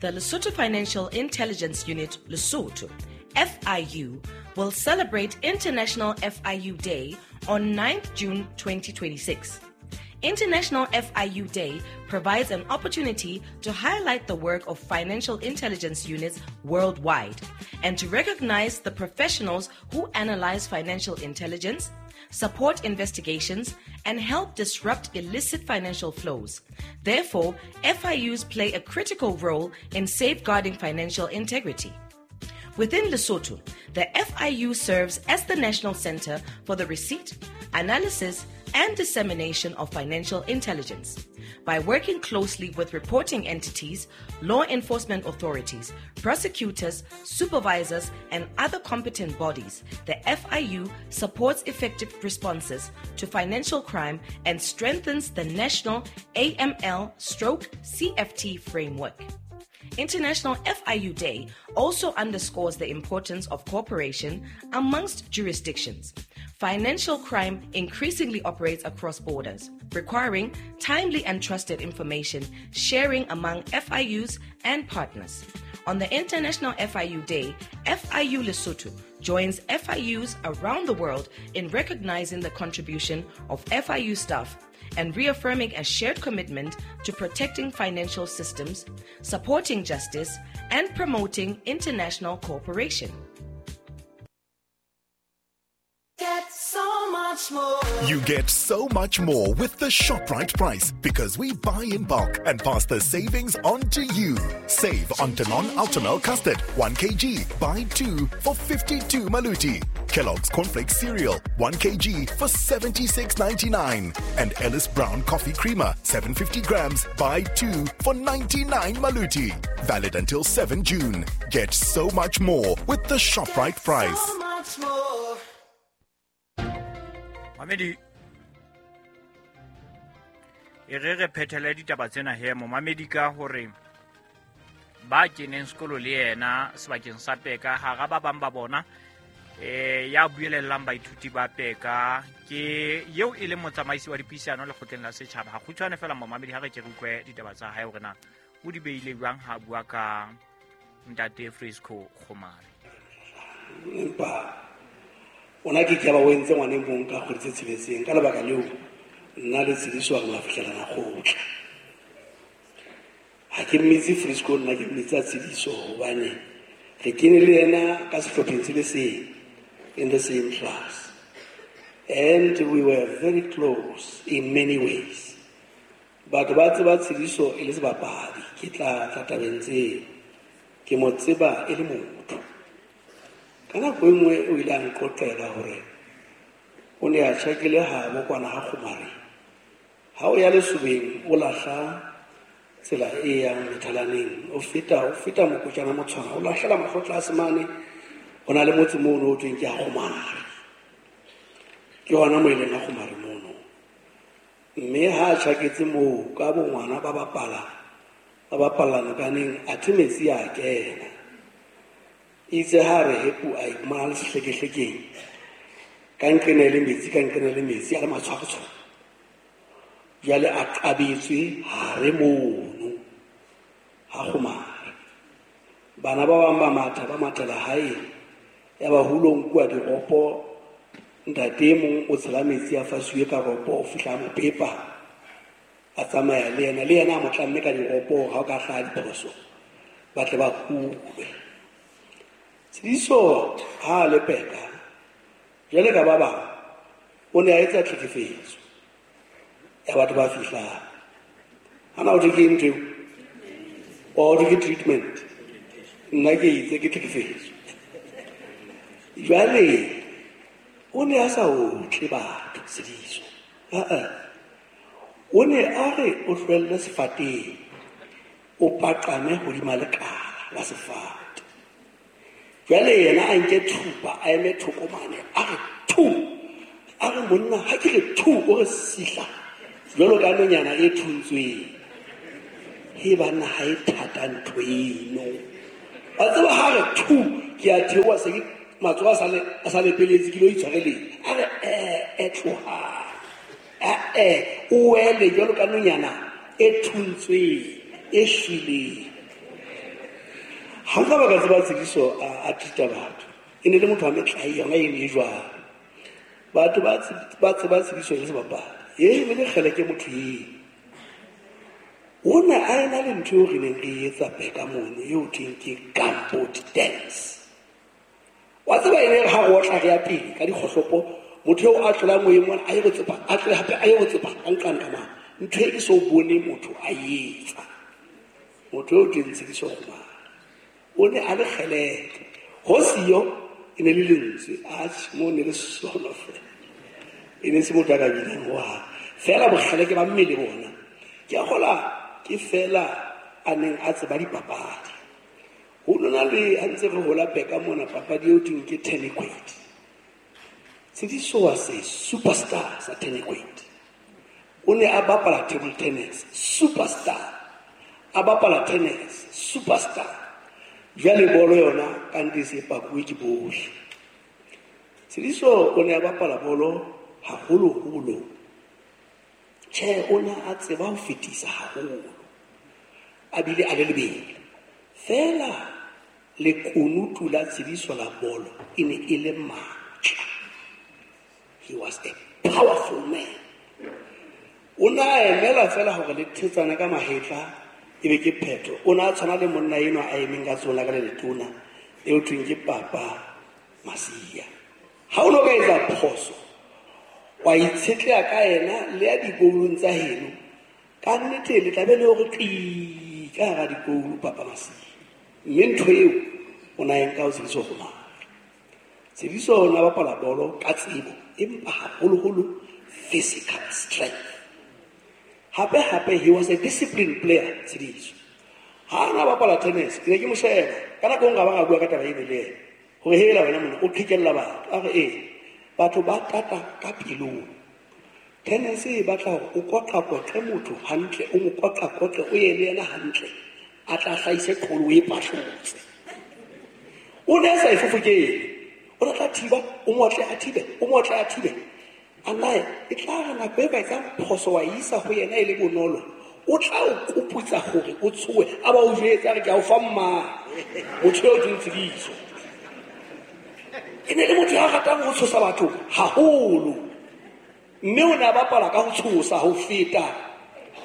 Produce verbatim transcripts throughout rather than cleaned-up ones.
The Lesotho Financial Intelligence Unit, Lesotho, F I U, will celebrate International F I U Day on ninth June twenty twenty-six. International F I U Day provides an opportunity to highlight the work of financial intelligence units worldwide and to recognize the professionals who analyze financial intelligence, support investigations, and help disrupt illicit financial flows. Therefore, F I Us play a critical role in safeguarding financial integrity. Within Lesotho, the F I U serves as the national center for the receipt, analysis, and dissemination of financial intelligence. By working closely with reporting entities, law enforcement authorities, prosecutors, supervisors, and other competent bodies, the F I U supports effective responses to financial crime and strengthens the national A M L stroke C F T framework. International F I U Day also underscores the importance of cooperation amongst jurisdictions. Financial crime increasingly operates across borders, requiring timely and trusted information sharing among F I Us and partners. On the International F I U Day, F I U Lesotho joins F I Us around the world in recognizing the contribution of F I U staff and reaffirming a shared commitment to protecting financial systems, supporting justice, and promoting international cooperation. Get so much more. You get so much more with the ShopRite price because we buy in bulk and pass the savings on to you. Save on Danone Ultimel Custard, one kilogram, buy two for fifty-two maluti. Kellogg's Cornflakes Cereal, one kilogram for seventy-six ninety-nine. And Ellis Brown Coffee Creamer, seven hundred fifty grams, buy two for ninety-nine maluti. Valid until seventh June. Get so much more with the ShopRite price. So much more. Mamedi, e re re phethele ditaba tsena he momamedi ka hore ba keneng sekolo le yena sebakeng sa Peka hara ba bang ba bona eh ya buelellang baithuti ba Peka ke eo e leng motsamaisi wa dipuisano lekgotleng la setjhaba. Ha kgutshwane fela momamedi ha re ke re utlwe ditaba tsa hae hore na o di beile jwang ha bua ka ntate Frisco Kgomare. Empa ona ke ke ba o entse ngwaneng mong ka kgwedi tse tsheletseng ka lebaka leo nna le Tsediso re la fihlelana kgotla. Ha ke mmitse Frisco, nna ke mmitsa Tsediso hobane re kene le yena ka sehlopheng se le seng, in the same class, and we were very close in many ways. Batho ba tseba Tsediso e le sebapadi, ke tla tla tabeng tseo, ke mo tseba e le motho. Ka nako e nngwe o ile a nqoqela hore o ne a tjhakile habo kwana ha Kgomare. Ha o ya lesobeng o lahla tsela e yang methalaneng, o feta o feta mokotjana motshwana, o lahlela mahlo tlase mane, ho na le motse mono o thweng ke ha Kgomare. Ke hona mo e leng ha Kgomare mono. Mme ha a tjhaketse moo ka bongwana ba bapala, ba bapalla nokaneng, athe metsi a kena. Itse ha re hepu a iphumana le sehlekehlekeng, ka nqena le metsi, ka nqena le metsi, a le matshwakotshwako. Jwale a qabetswe hare mono ha Kgomare. Bana ba bang ba matha, ba mathela hae, ya ba hulo nkuwa diropo, ntate e mong o tshela metsi a fasuwe ka ropo, o fihla a mo pepa, a tsamaya le yena, le yena a mo tlamme ka diropo hore ha o ka hlaha diphoso, ba tle ba hulwe. Tsediso ha a le Peka, jwale ka ba bang, o ne a etsa tlhekefetso ya batho ba fihlang. Hana ho thwe ke ntho eo? Wa ho thwe ke treatment? Nna ke itse ke tlhekefetso. Jwale o ne a sa otle batho Tsediso. Ah-ah. O ne a re o hlwelle sefateng, o paqame hodima lekala la sefate. Jwale yena a nke thupa, a eme thoko mane, a re thu, a re monna ha ke re thu, o re sihla jwalo ka nonyana e thuntsweng. He banna ha e thata ntho eno. Wa tseba ha re thu, ke a theoha se ke matsoho a sa le, a sa lepeletse, ke lo itshwareleng. A re eh, eh, tloha. Eh, eh, o wele jwalo ka nonyana e thuntsweng, e shweleng. Ha nka ba ka tseba Tshidiso a treat-a batho. E ne le motho wa metlae yona e ne e jwalo. Batho ba ba tseba Tshidiso le sebapadi. E ne le kgele ke motho eo. O ne a ena le ntho eo re neng re etsa Peka mono eo thweng ke gumboot dance. Wa tseba e ne re ha re otla re ya pele ka dikgohlopo, motho eo a tlolang moyeng mona a ye go tsepa, a tlole hape a ye go tsepa ka nqane ka mane. Ntho e ke so bone motho a etsa. Motho eo teng Tshidiso Kgomari. O ne a le kgeleke. Ho siyo e ne le lentswe, atjhe mo ne le sono fela. E ne se motho a ka binang hohang. Fela bokgeleke ba mmele bona. Ke a kgola ke fela a neng a tseba dipapadi. Ho nona le ha ntse re hola Peka mona papadi eo thweng ke tennis. Tshidiso was a superstar sa tennis. O ne a bapala table tennis, superstar. A bapala tennis, superstar. Jwale bolo yona ka nnete se pakuwe ke bohle. Tshidiso o ne a bapala bolo haholoholo. Tjhe, o ne a tseba ho fetisa haholo. A bile a le lebelo. Fela lekunutu la Tshidiso la bolo e ne e le matla. He was a powerful man. O ne a emela fela hore le thetsane ka mahetla ebe ke phetho. O ne a tshwana le monna enwa a emeng ka tsona ka le letona eo thweng ke Papa Masia. Ha o no ka etsa phoso, wa itshetleha ka yena le ya dikoulong tsa heno, ka nnete le tla be le hore qi ka hara dikoulu Papa Masia. Mme ntho eo o na e nka ho Tshidiso Kgomari. Tshidiso o ne a bapala bolo ka tsebo, empa haholoholo physical strength. Hape hape he was a disciplined player, Tshidiso. Ha na bapala tennis, ke ne ke mo sheba. Ka nako e nngwe ba ga bua ka taba eno le yena. Hore hela wena monna o qhekella batho. A re ee, batho ba tata ka pelong. Tennis e batla hore o koqakoqe motho hantle, o mo koqakoqe, o ye le yena hantle. A tla hlahise qolo e pahlotse. O ne a sa e fofokele. O ne a tla thiba, o mo otle a thibe, o mo otle a thibe. A nae, e tla re nako e ka etsang phoso wa isa ho yena e le bonolo. O tla o koputsa hore o tshohe, a ba o jwetsa re ke a o fa mma. Motho eo ke Tshidiso. E ne le motho ya ratang ho tshosa batho haholo. Mme o ne a bapala ka ho tshosa ho feta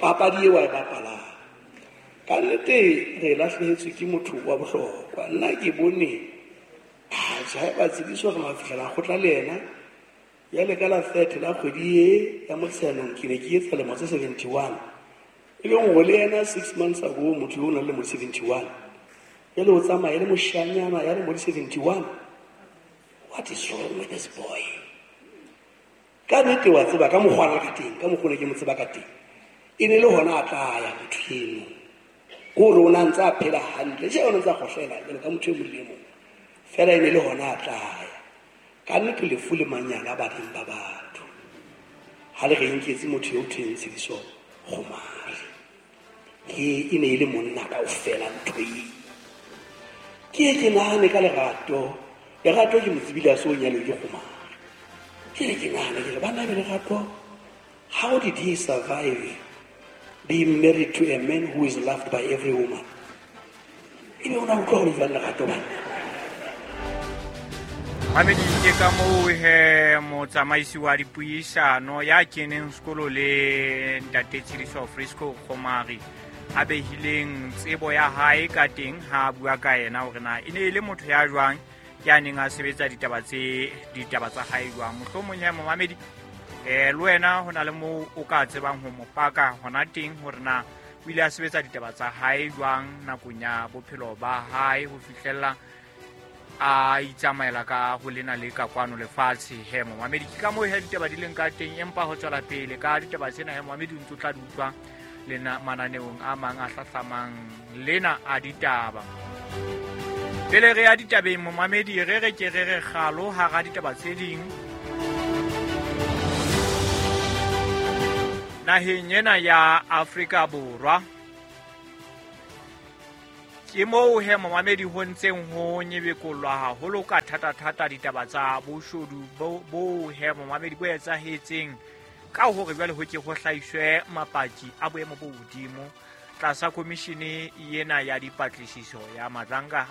papadi eo a e bapalang. Ka nnete re lahlehetswe ke motho wa bohlokwa. Nna ke bone atjhe haeba Tshidiso re mafihlela kgotla le yena. Jwale ka la thirty la kgwedi e ya Motsheanong ke ne ke etsa lemo tse seventy-one. E leng hore le yena six months ago motho yo o nang le lemo seventy-one. Jwale o tsamaya le moshanyana ya lemo seventy-one. What is wrong with this boy? Ka nnete wa tseba ka mokgwa a ka teng, ka mokgwa o ne ke mo tseba ka teng. E ne le hona a tla ya motho eno. Ke hore o ne a ntse a phela hantle. Tjhe, o ne ntse a kgohlela jwalo ka motho e mong le e mong. Fela e ne le hona a tla ya. Ka nnete lefu le manyala baneng ba batho. Ha le re nketse motho eo thweng Tshidiso Kgomari. Ke e ne e le monna kaofela ntho eo. Ke e ke nahane ka lerato. Lerato ke mo tsebile a so nyalwe ke Kgomari. Ke re ke nahane ke re bana be lerato, how did he survive being married to a man who is loved by every woman? Ebe o na utlwa hore jwang lerato bana? Mamedi ke ka moo he motsamaisi wa dipuisano ya keneng sekolo le ntate Tshidiso Frisco Kgomari a behileng tsebo ya hae ka teng ha a bua ka yena hore na e ne e le motho ya jwang ya neng a sebetsa ditaba tse ditaba tsa hae jwang. Mohlomong ya momamedi eh le wena ho na le moo o ka tsebang ho mo paka hona teng hore na o ile a sebetsa ditaba tsa hae jwang nakong ya bophelo ba hae ho fihlella a itsamaela ka ho lena le ka kwano lefatshe. He momamedi ke ka moo he ditaba di leng ka teng, empa ho tswela pele ka ditaba tsena he momamedi o ntso tla di utlwa lena mananeong a mang a hlahlamang lena a ditaba. Pele re ya ditabeng momamedi re re ke re re kgalo hara ditaba tse ding. Naheng ena ya Afrika Borwa ke moo he momamedi ho ntseng ho nyebekollwa haholo ka thata-thata ditaba tsa boshodu bo, bo he momamedi bo etsahetseng ka hore jwale ho ke ho hlahiswe mapaki a boemo bo hodimo tlasa komishene ena ya dipatlisiso ya Madlanga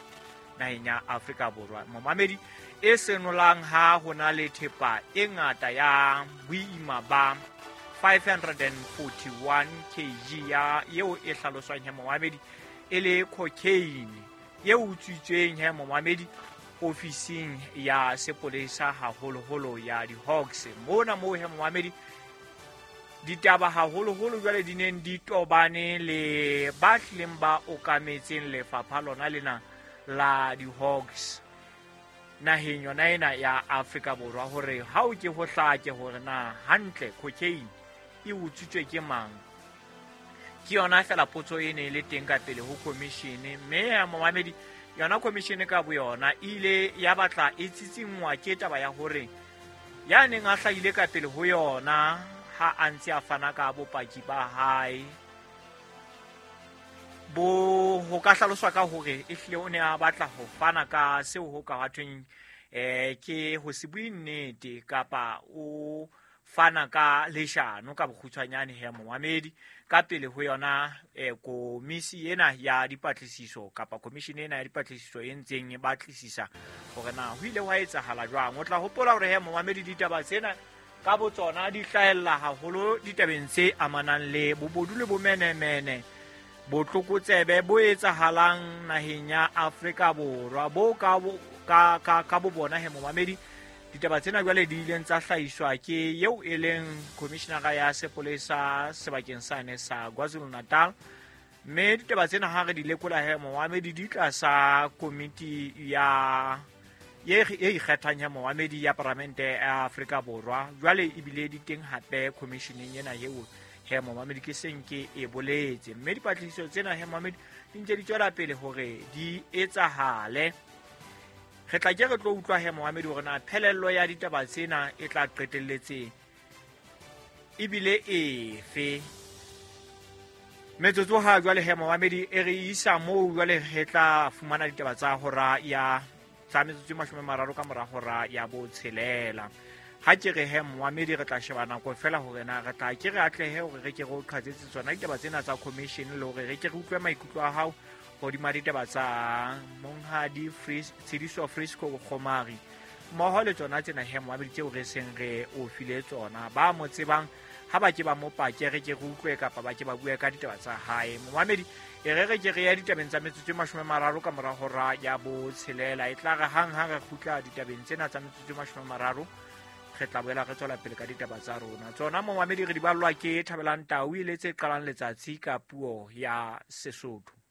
naheng ya Afrika Borwa. Momamedi e senolang ha ho na le thepa e ngata ya boima ba five hundred forty-one kilograms ya eo e hlaloswang he momamedi e le cocaine e utswitsweng he momamedi ofising ya sepolesa haholoholo ya di-Hawks. Mona moo he momamedi ditaba haholoholo jwale di neng di tobane le ba hlileng ba okametseng lefapha lona lena la di-Hawks naheng yona ena ya Afrika Borwa, hore ha o ke ho hlake hore na hantle cocaine e utswitswe ke mang. Ke yona fela potso e ne e le teng ka pele ho commission, mme ya momamedi yona commission ka boyona e ile ya batla e tsitsingwa ke taba ya hore ya neng a hlahile ka pele ho yona ha a ntse a fana ka bopaki ba hae bo ho ka hlaloswa ka hore ehlile o ne a batla ho fana ka seo ho ka thweng eh ke ho se bue nnete kapa o fana ka leshano ka bokgutshwanyane he momamedi ka pele ho yona eh komisi ena ya dipatlisiso kapa commission ena ya dipatlisiso e ntseng e batlisisa hore na ho ile hwa etsahala jwang. O tla hopola hore he momamedi ditaba tsena ka botsona di hlahella haholo ditabeng tse amanang le bobodu le bomenemene botlokotsebe bo etsahalang naheng ya Afrika Borwa bo ka ka ka ka bo bona he momamedi. Ditaba tsena jwale di ileng tsa hlahiswa ke eo e leng commissionera ya sepolesa sebakeng sane sa KwaZulu-Natal, mme ditaba tsena ha re di lekola he momamedi di tlasa komiti ya ye e ikgethang ya momamedi ya Paramente ya Afrika Borwa. Jwale ebile di teng hape commissioneng ena eo he momamedi ke seng ke e boletse, mme dipatlisiso tsena he momamedi di ntse di tswela pele hore di etsahale. Re tla ke re tlo utlwa he momamedi hore na phelello ya ditaba tsena e tla qetelletse ebile efe. Metsotso ha jwale he momamedi e re isa moo jwale re tla fumana ditaba tsa hora ya tsa metsotso e mashome a mararo ka mora hora ya botshelela. Ha ke re he momamedi re tla sheba nako fela hore na re tla ke re atlehe hore re ke re o qhatsetse tsona ditaba tsena tsa commission le hore re ke re utlwe maikutlo a hao hodima ditaba tsa monghadi Tshidiso Frisco Kgomari mmoho le tsona tsena he momamedi tseo re seng re o file tsona. Ba mo tsebang ha ba ke ba mo pake re ke re utlwe kapa ba ke ba bue ka ditaba tsa hae. Momamedi e re re ke re ya ditabeng tsa metsotso e mashome a mararo ka mora hora ya botshelela. E tla re hang ha re kgutla ditabeng tsena tsa metsotso e mashome a mararo re tla boela re tswela pele ka ditaba tsa rona. Tsona momamedi re di ballwa ke Thabelang Tau e le tse qalang letsatsi ka puo ya Sesotho.